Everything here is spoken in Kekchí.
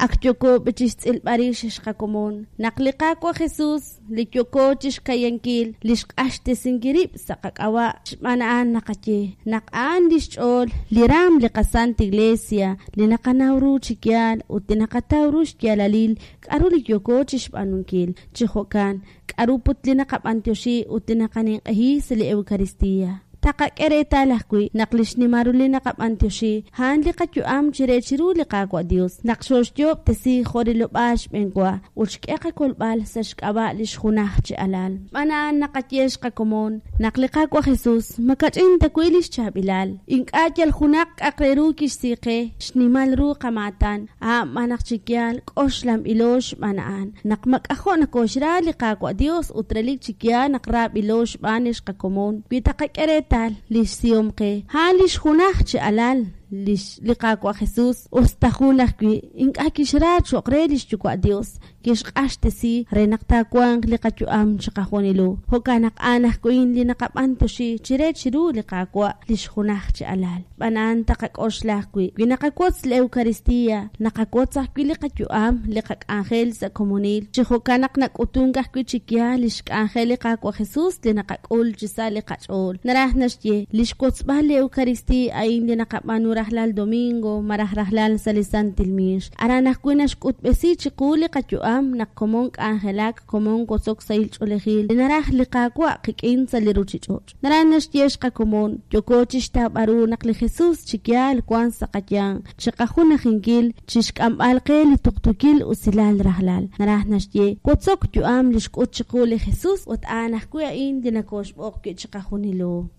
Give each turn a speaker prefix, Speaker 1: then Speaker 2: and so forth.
Speaker 1: Ak yooko b'i chixtz'ilb'al rix xqakomon naq li Qaawa' Jesus, li yooko chixkayankil li xq'axtesinkil rib' sa' qak'ab'a', xb'aan a'an naqaye naq a'an lix ch'ool li raam li qaSanta Iglesia, li naqanaw ru chi yaal ut li naqataw ru xyaalalil k'a'ru li yooko chixb'aanunkil. Chi jo'kan, k'a'ru put li naqab'antioxi ut li naqaninq'ehi sa' li Eucaristía. Taqak'e reetal ajwi' naq li xnimal ru li naqab'antioxi a'an li qayu'am chire chiru li Qaawa' Dios, naq xooxyoob'tesi jo' rilob'aal xb'eenwa ut xk'e qakolb'al sa' xk'ab'a' lix junaj chi alal. Xb'aan a'an naqaye xqakomon naq li Qaawa' Jesus makach'in ta wi' lix chaab'ilal. Ink'a' yal junaq k'a'aq re ru kixsi qe, xnimal ru qamaatan, a'an b'an naq chi yaal k'oxlanb'ilo xb'aan a'an, naq mak'ajo' nokoxra li Qaawa' Dios ut relik chi yaal naq raab'ilo xb'aan lix qakomon, wi taqak'e reetal lix sihom qe, a'an lix junaj chi alal lix li Qaawa' Jesus, us ta jun ajwi' ink'a' kixra cho'q re lix Yuwa' Dios, kixq'axtesi re naq taawanq li qayu'am chiqajunilo. Jo'kan naq a'an ajwi' li naqab'antioxi chire chiru li Qaawa' lix junaj chi alal. Xb'aan a'an taqak'oxla ajwi', wi naqawotz li Eucaristía, naqawotz ajwi' li qayu'am, li qak'anjel sa' komonil. Chi jo'kan naq nak'utunk ajwi' chi yaal lix k'anjel li Qaawa' Jesus li naqak'ul chi sa' li qach'ool. Naraj naxye, li xwotzb'al li Eucaristía a'in li naqab'aanu rajlal domingo malaj rajlal sa' li Santil Miix. Aran ajwi' naxk'utb'esi chiqu li qayu'am naq komon k'anjelak, komon wotzok sahil ch'oolejil li naraj li Qaawa' qik'in sa' li ruchich'och'. Naraj naxye xqakomon, yooko chixtawb'al ru naq li Jesus chi yaal wank sa' qayanq, chiqajunajinkil, chixk'amb'al qe li tuqtuukil usilal rajlal. Naraj naxye, wotzok yu'am li xk'ut chiqu li Jesus ut a'an ajwi' a'in li nokooxb'oq wi' chiqajunilo.